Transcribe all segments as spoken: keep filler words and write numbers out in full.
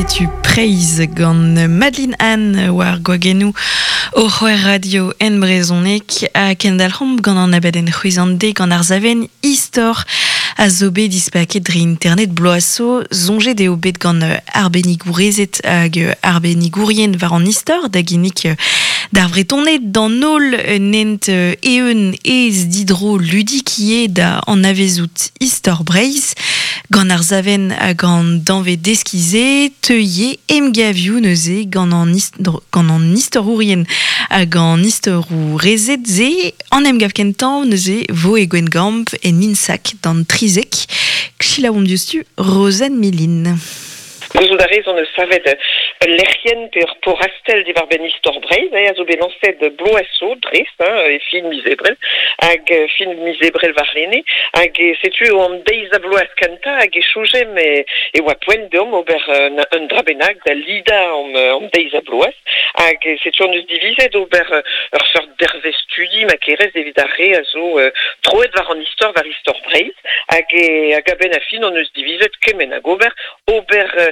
Setu Praise gant Madeline Anne war gwagennoù o c'hwer radio en brezhoneg ha kendalc'homp gant an abadenn c'hwezan-de gant ar savenn istor a zo bet dispaket dre internet bloaso soñjet eo bet gant arbennigourezed hag arbennigourien war an istor da ginnig d'ar Vretoned d'an holl nent eeun ez didro ludik ivez da anavezout istor Breizh gant ar savenn hag an danvez deskiñ-se teuie emgavioù neuze gant an gant an istorourien hag an istorourezed se an emgav kentañ neuze vo e Gwengamp en INSAC d'an trizek Selaouomp diouzhtu Rozenn Milin. Gouzout a rez hon eus savet ul lec'hienn pe ur porrastell diwar-benn istor Breizh, eh, a zo bet lañset bloaz zo dres, hein, e fin miz Ebrel, hag fin miz Ebrel warlene, hag setu eo an deiz ha bloaz kentañ hag e soñjemp e, e oa poent deomp ober un, un dra bennak da lidañ an, an deiz ha bloaz, hag setu hon eus divizet ober ur seurt dervezh studi ma kerez evit ar re a zo uh, troet war an istor war istor Breizh, hag, e, hag a-benn ar fin hon eus divizet kement hag ober, ober uh,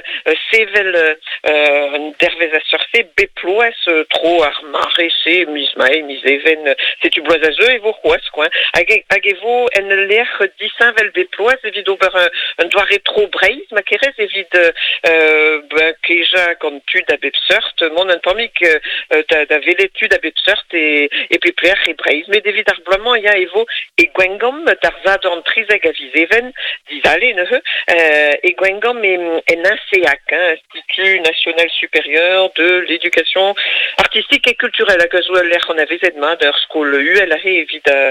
sevel uh, un dervezh a seurt-se bep bloaz uh, tro ar mare-se miz mae, miz even, setu bloaz a zeu e vo c'hoazh quoi. Hag e, hag e vo en ul lec'h disheñvel bep bloaz evit ober un, un doare tro Breizh ma kerez evit euh, ben, kejañ gant tud a bep seurt, mont un tammig euh, da, da welet tud a bep seurt e, e pep lec'h e Breizh. Met evit ar bloaz-mañ ya e vo e Gwengamp d'ar Sadorn trizek a viz Even, dizale neuze, euh, e Gwengamp e, en INSEAC, hein, Institut National Supérieur de l'Éducation Artistique et Culturelle hag a zo ul lec'h anavezet mat ur skol uhel aze evit uh,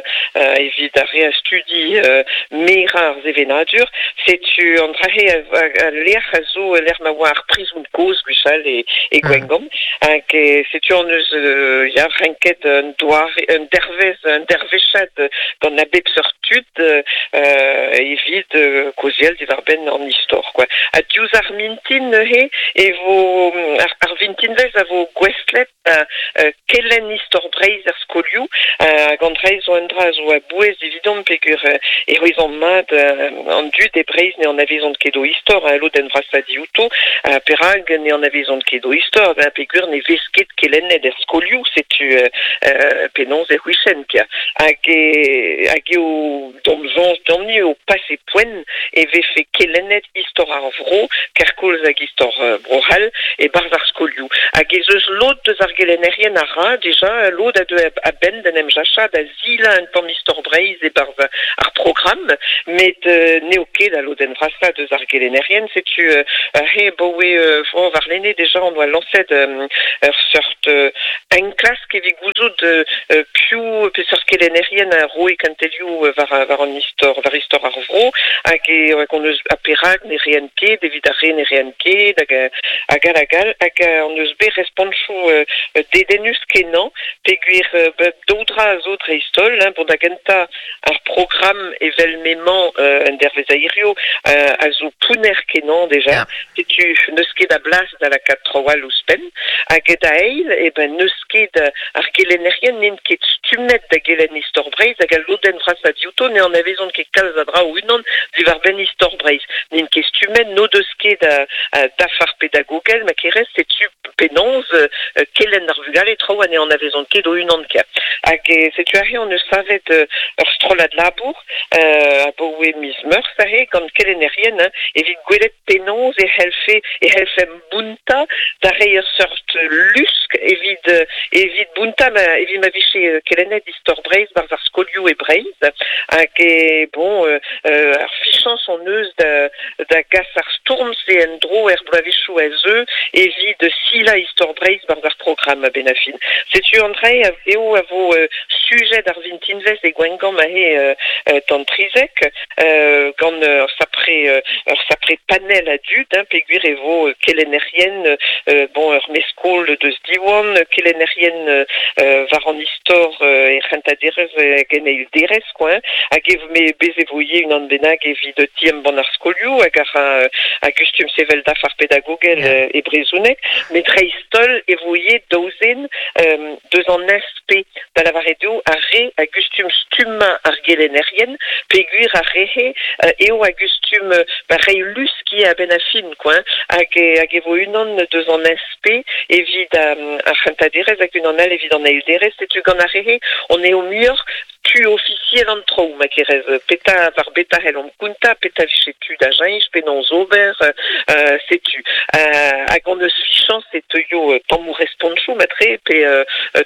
evit ar re a studi uh, merañ ar sevenadur setu an dra-se a lec'h a zo lec'h ma oa ar prizon kozh gwechall e, e Gwengamp hag setu hon eus uh, ya renket un doare un dervezh un dervezhad gant a bep seurt tud uh, evit uh, kaozeal diwar-benn an istor quoi. Ha diouzh ar mintin neuze e vo ar, ar vintinvezh a vo gouestlet uh, uh, kelenn istor Breizh er skolioù uh, hag an dra zo un dra zo a bouez evidomp peogwir uh, e c'hwezomp mat uh, an dud e Breizh ne anavezont ket o istor uh, lodenn vrasañ diouto uh, perak ne anavezont ket o istor ben, peogwir ne vez ket kelennet er skolioù setu uh, uh, penaos e c'houifen kia hag e, hag eo d'am soñj deomp-ni eo pase poent e vefe kelennet istor ar vro kerkoulz hag istor uh, Bro-C'hall e-barzh ar skolioù hag ez eus lod deus ar gelennerien a ra dija lod a deu a-benn d'en em jachañ da silañ un tamm istor Breizh e-barzh ar programm met uh, n'eo ket al lodenn vrasañ deus ar gelennerien setu uh, he boe uh, warlene dija on oa lañset um, ur seurt uh, enklask evit gouzout uh, piv peseurt kelennerien a roe kentelioù war, war an istor war istor ar vro hag e hag on eus a perak ne reent ket evit ar re ne reent ket hag hag hag hag hag on eus bet respontoù uh, dedennus kenañ peogwir uh, daou dra a zo dreist-holl hein, bon da gentañ ar programm evel m'emañ uh, en dervezh a hirio uh, a zo pounner kenañ dija yeah. Setu n'eus ket a blas da lakaat traoù all ouzhpenn hag da eil e ben n'eus ket ar gelennerien n'int ket stummet da gelenn istor Breizh hag al lodenn vrasañ diouto ne anavezont ket kalz a dra o-unan diwar-benn istor Breizh n'int ket stummet n'o deus ket a, a dafar pedagogel ma kerez setu penaos uh, kelenn ar vugale traoù ha ne anavezont ket o-unan ket hag e, setu aze hon eus savet uh, ur strollad labour uh, abaoe miz Meurzh aze gant kelennerien hein, evit gwelet penaos e c'hellfe e c'hellfemp bountañ da reiñ ur seurt lusk evit evit bountañ ma, evit ma vije kelennet istor Breizh barzh ar skolioù e Breizh hag e bon euh, ar fichañs hon eus da, da gas ar stourm-se en-dro er bloavezhioù a zeu evit silañ istor Breizh barzh ar programm a-benn ar fin. Setu an dra eo a vo uh, sujet ar vintinvezh e Gwengamp aze uh, uh, d'an trizek uh, gant ur sapre ur sapre panel a dud hein, peogwir e vo kelennerien uh, bon ur mestr-skol deus Diwan kelennerien uh, war an istor uh, e c'hentañ derez hag en eil derez quoi hein, hag e me bez e vo ivez unan bennak evit ti-embann ar skolioù hag ar a gustum sevel dafar pedagogel yeah. e brezhoneg met dreist-holl e vo ivez daou zen um, deus an I N S P da lavaret eo ar re a gustum stummañ ar gelennerien, peogwir ar rehe euh, eo a gustum euh, ba reiñ lusk a benn a fin, quoi, hein, hag e, hag e vo unan deus an S P evit um, ar c'hentañ hag unan all evit an eil derez, setu gant ar rehe on eo muioc'h tu officiel an traoù, ma kerez, peta var beta hel om kunta, peta viche tu da jañch, penaos ober, euh, setu. Euh, hag on eus fichañs e teuio euh, tammou respontchoù matre, pe euh,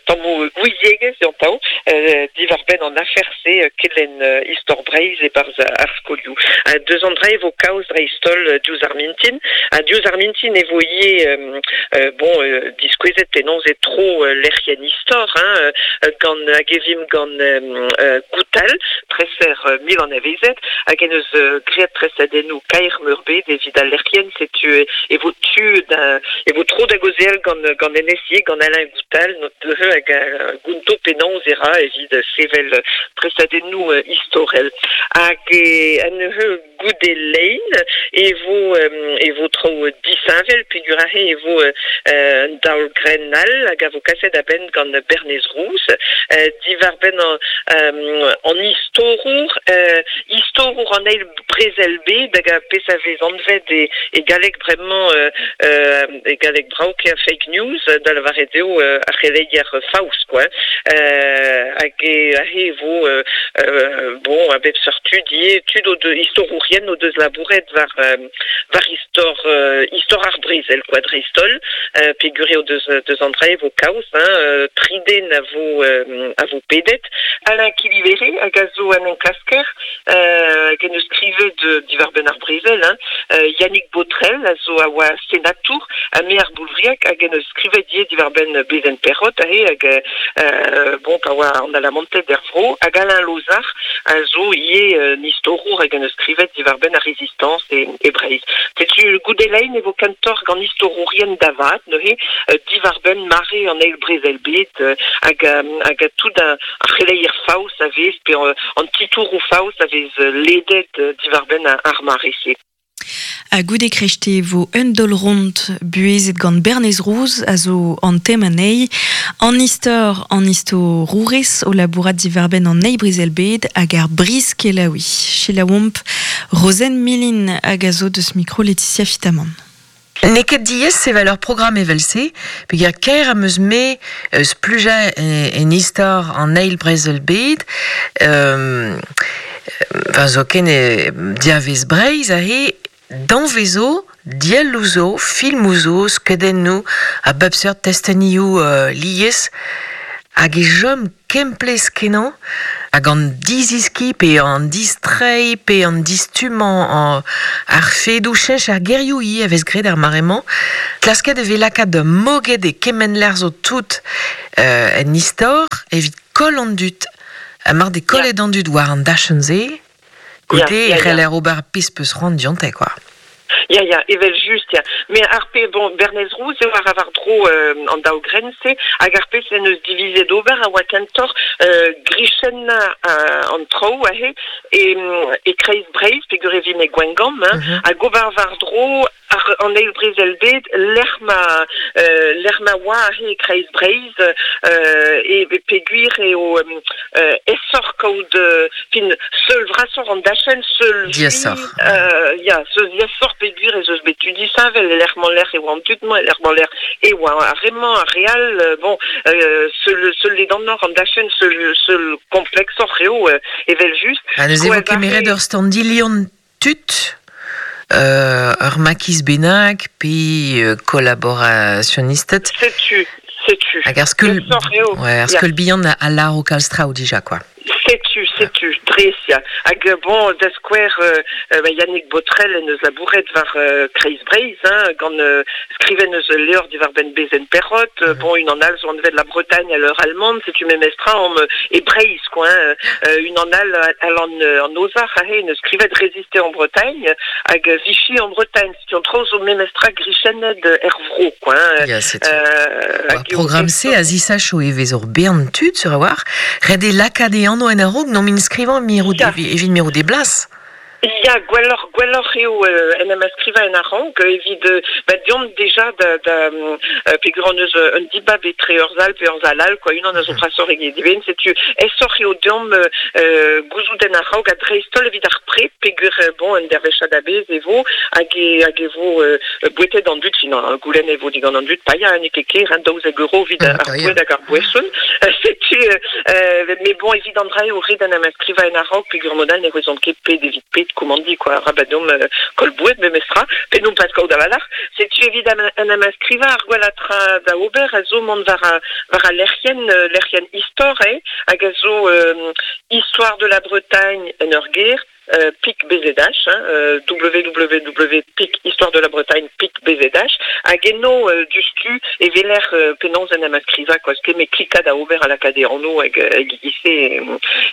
tammou gouiziegezh an tao, euh, diwar benn an afer-se euh, kelen euh, istor Breizh e barz ar skolioù. Euh, deus an dra e vo kaoz dreist-holl euh, diouzh ar mintin, ha diouzh ar mintin e vo ivez euh, euh, bon, euh, diskouezet penaos e tro euh, lec'hienn istor, hein, euh, gant hag evim gant euh, euh, Goutal, treser euh, mil an avezet, hag en eus euh, graet tresadennoù kaer meurbet evit al lec'hienn, setu e, e vo tu da, e vo tro da gaozeal gant, gant N S I, gant Alain Goutal, not neuze hag a gonto penaos e ra evit sevel tresadennoù euh, istorel. Hag e, an neuze goude lein e vo, euh, e vo tro disheñvel peogwir aze e vo euh, un daol grenn all hag a vo kaset a-benn gant Bernez Rouz, euh, diwar benn an, euh, an istorour, euh, istorour an eil brezel bet hag a pezh a vez anvet e, e galleg bremañ euh, euh, e galleg brav a fake news da lavaret eo euh, ar c'heleier faos, quoi. Euh, hag e aze e vo euh, euh, bon a bep seurt tud ivez, tud o deus istorourien o deus labouret war, euh, war istor, euh, istor ar brezel, quoi, dreist-holl, euh, peogwir eo deus, deus an dra e vo kaoz, hein, euh, tri den a vo, euh, a vo pedet. Alain Quilivéré hag a zo an enklasker, euh, hag en eus skrivet euh, diwar benn ar brezel, hein, euh, Yannick Botrel a zo a oa senatour ha me ar Boulvriag hag en eus skrivet ivez diwar benn Bezen Perrot aze hag euh, bon pa oa an Alamanted er vro, hag Alain Lozar a zo ivez euh, istorour hag en eus skrivet diwar benn ar Résistance e, e Breizh. Setu goude lein e vo kentoc'h gant istorourien davat, neuze euh, diwar benn mare an eil brezel bet, euh, hag, euh, hag a tout ar c'heleier faos a vez, pe euh, an titouroù faos a vez euh, ledet euh, diwar benn ar mare-se. A goude krechte vo un dol ront buezet gant Bernez Rouz a zo an tem anezhi, an istor an istorourez o labourat diwar benn an eil brezel bed hag ar briz kelaoui. Selaouomp Rozenn Milin hag a zo deus mikro Laetitia Fitamant. N'eo ket diaes sevel ur programm evel-se, peogwir kaer am eus me eus splujañ en istor an eil brezel bed, euh, enfin, zoken e diavez Breizh aze, danvez zo, dielloù zo, filmoù zo, skeudennoù, a bep seurt testenioù euh, lies, hag e chom kemplezh kenañ, hag an diziski pe an distreiñ pe an distummañ an ar fedoù cheñch ar gerioù ivez a vez graet ar mare-mañ. Klasket e vez lakaat moged e kement lec'h zo tout euh, en istor evit koll an dud. Ha mar de kollet an dud war an dachenn-se, goude e c'heller ober pezh peus c'hoant dionte, quoi. Ya, ya, evel just, ya. Mais ar pe, bon, Bernez Rouz eo ar war dro euh, an daou grenn-se, hag ar pezh en eus divizet ober a oa kentoc'h euh, grichennañ euh, an traoù aze e, e kreiz Breizh, peogwir e vin e Gwengamp, hein, mm -hmm. hag ober war dro ar, an eil brezel bet, lec'h ma, euh, lec'h ma oa aze e kreiz Breizh, euh, e peogwir eo euh, aesoc'h kaout, euh, fin, seul vrasoc'h an dachenn, seul diaesoc'h. Euh, ya, seul diaesoc'h peogwir ez eus bet tud disheñvel, e lec'h mañ lec'h e oa an tud-mañ, e lec'h mañ lec'h e oa ar re-mañ, ar re all, euh, bon, euh, seul, seul ledanoc'h an dachenn, seul, seul kompleksoc'h eo, euh, evel just. Ha neuze vo kemeret ur standilhon tud, euh, ur makiz bennak, pe euh, kolaborasionisted. Setu, setu. Hag ar skeul, ouais, ar skeul bihan a lâro kalz traoù dija, quoi. Setu, setu, dres, ya. Hag bon, da skouer, euh, euh, Yannick Botrel en eus labouret war euh, Kreiz Breizh, hein, gant euh, skriven eus levr diwar benn Bezen Perrot, euh, mm -hmm. bon, unan all zo anvet la Bretagne à l'heure allemande, setu memestra om e Breizh, quoi, hein, euh, unan all al an, an Ozar, aze, en eus skrivet résister en Bretagne, hag Vichy en Bretagne, setu an traoù zo memestra grichennet er vro, quoi. Hein, ya, setu. Euh, Ar programm-se a zisacho e vez ur bern tud, sur a war, ret eo lakaat e anv en a-raok, n'om inskrivañ mirout, evit mirout e blas. Ya, gwelloc'h, gwelloc'h eo euh, en em askriva en a-raok, evit euh, ba deomp deja da, da euh, peogwir hon eus un dibab etre ur sal pe ur sal all, quoi, unan a zo brasoc'h eget eben, setu aesoc'h eo deomp euh, gouzout en a-raok ha dreist-holl evit ar pred, peogwir euh, bon, un dervezhad a-bezh e vo, hag e, hag e vo euh, bouetet an dud, fin, an goulenn e vo digant an dud paeañ, n'eo ket ker, hein, daouzek euro evit ar Mm, boued hag ar boeson. Setu, euh, mais bon, evit an dra eo ret en em askriva en a-raok, peogwir mod all ne c'houezomp ket pet evit pet komandiñ, quoi, arabat deomp euh, koll boued memestra, pe non pas kaout a-walc'h. Setu evit am, en em askriva ar gwellañ tra da ober a zo mont war a, war a lec'hienn, euh, lec'hienn istor, eh, hag a zo euh, Histoire de la Bretagne en ur ger, euh, pik B Z H, hein, euh, W W W pik Histoire de la Bretagne pik B Z H, hag eno euh, diouzhtu e weler euh, penaos en em askriva, quoi, ket met klikañ da ober ha lakaat e anv hag, hag e-giz-se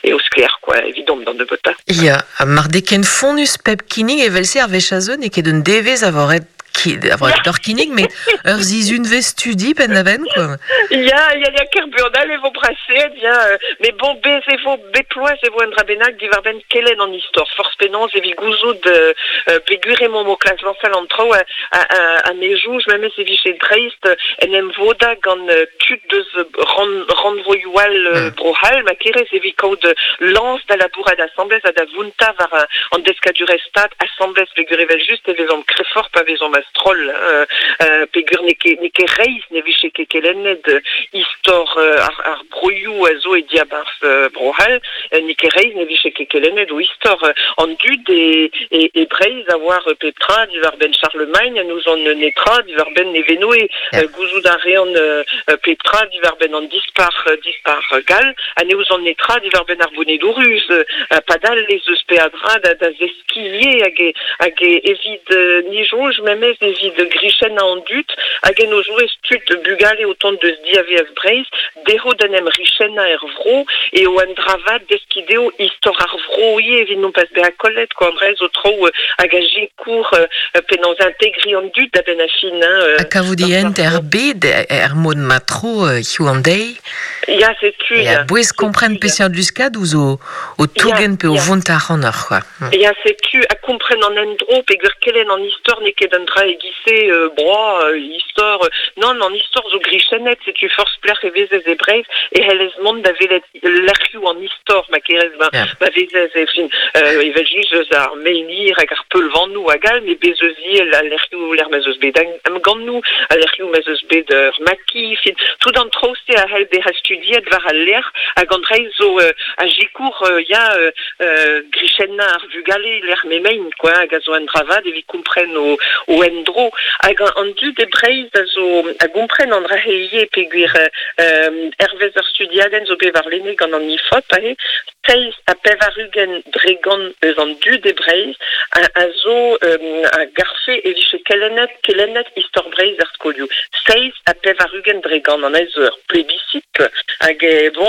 eo sklaer, quoi, evidomp d'an nebeutañ. Ya, ha mar d'eo ken fonnus pep kinnig evel-se ar wech a zeu, n'eo ket un devezh a vo ret ki, a vo ret d'ur kinnig, met ur sizhunvezh studi penn-da-benn, quoi. Ya, ya, ya, ker buan all e vo brasaet, ya, euh, mais bon, bez e vo bep bloaz e vo un dra bennak diwar-benn kelenn an istor. Forzh penaos evit gouzout euh, euh, peogwir emaomp o klask lañsal an traoù a, a, a, a me soñj memes e vije dreist en em vodañ gant euh, tud deus ran, rannvroioù all euh, Mm. Bro-C'hall, ma kerez evit kaout lañs da labourat asambles ha da vountañ war euh, an deskadurezh stad asambles peogwir evel just e vezomp kreñvoc'h pa vezomp a-stroll euh, euh, peogwir n'eo ket n'eo ket reizh ne vije ket kelennet euh, istor euh, ar, ar broioù a zo e diabarzh euh, Bro-C'hall, euh, n'eo ket reizh ne vije ket kelennet o istor euh, an dud e, e, e Breizh a oar euh, pep tra diwar-benn Charlemagne n'ouzont netra diwar-benn Nevenoe. Ya. euh, gouzout a reont euh, euh, pep tra diwar-benn an dispac'h euh, dispac'h gall ha ne ouzont netra diwar-benn ar Bonedoù ruz euh, padal ez eus peadra da, da zeskiñ hag e, hag e evit euh, ni soñj memes evit grichennañ an dud hag en o zouez tud bugale o tont deus diavaez Breizh dezho d'en em richennañ er vro e o an dra vat deskiñ dezho istor ar vro ivez evit non pas bezañ kollet quoi an dra zo traoù euh, hag a sikour euh, penaos integriñ an dud da benn ar fin hein, euh, Ha kavout e hent er bed er mod ma tro euh, hiziv an deiz. Ya, setu Ya, ya. bouez kompren peseurt luskad ouzh o, o tougen pe o ya. vont ac'hanoc'h, quoi. Mm. Ya, setu ha kompren an endro peogwir kelenn an istor n'eo ket un dra e-giz-se euh, broa, euh, istor, euh, non, an istor zo grichennet, setu forzh pelec'h e vezez e Breizh e c'hellez mont da welet lec'hioù an istor ma kerez ma, Ya. ma vezez e fin euh, evel just eus ar menhir hag ar peulvanoù hag all, met bez eus ivez al lec'hioù lec'h ma'z eus bet emgannoù, al lec'hioù ma'z eus bet ur maquis, fin, tout an traoù-se a c'hell bezañ studiet war al lec'h hag an dra zo euh, a sikour euh, ya euh, euh, grichennañ ar vugale lec'h m'emaint quoi hag a zo un dra vat evit kompren o, o endro hag an, an dud e Breizh a zo a gompren an dra-se ivez peogwir euh, hervez ur studiadenn zo bet warlene gant an Ifop aze seizh ha pevar-ugent dre gant eus an dud e Breizh a, a zo euh, a garfe e vije kelennet kelennet istor Breizh er skolioù seizh ha pevar-ugent dre gant an ez ur plebiscite hag e, bon.